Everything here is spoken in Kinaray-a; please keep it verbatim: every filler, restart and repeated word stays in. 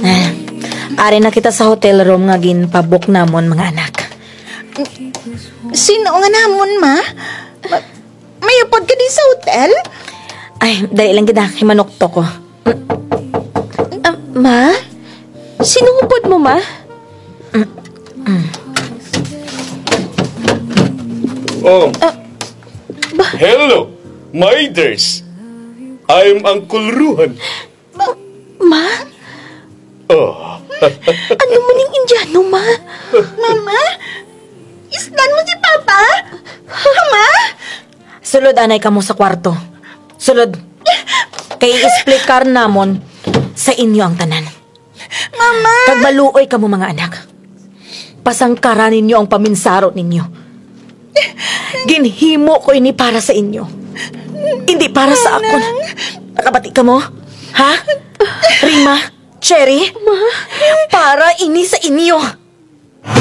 Ah, ari na kita sa hotel room nga ginpabook namon, mga anak. Sin-o nga namon, ma? Ma-, may upod ka diri sa hotel? Ay, dali lang gid, ha, kay manuktok ko. Ah, ma? Sin-o upod mo, ma? Oh. Ah, ba- Hello, my dears. I'm Uncle Ruhan. Ma? Ma? Oh. Ano man ning Indiano, ma? Mama? Isdan mo si Papa? Mama? Sulod anay kamo sa kwarto. Sulod. Kay i-explicar namon sa inyo ang tanan. Mama! Kag maluoy kamo, mga anak. Pasangkara ninyo ang paminsaro ninyo. Ginhimo ko ini para sa inyo. Indi para sa akon. Nakabati kamo? Ha? Rima, Cherry? Ma? Para ini sa inyo.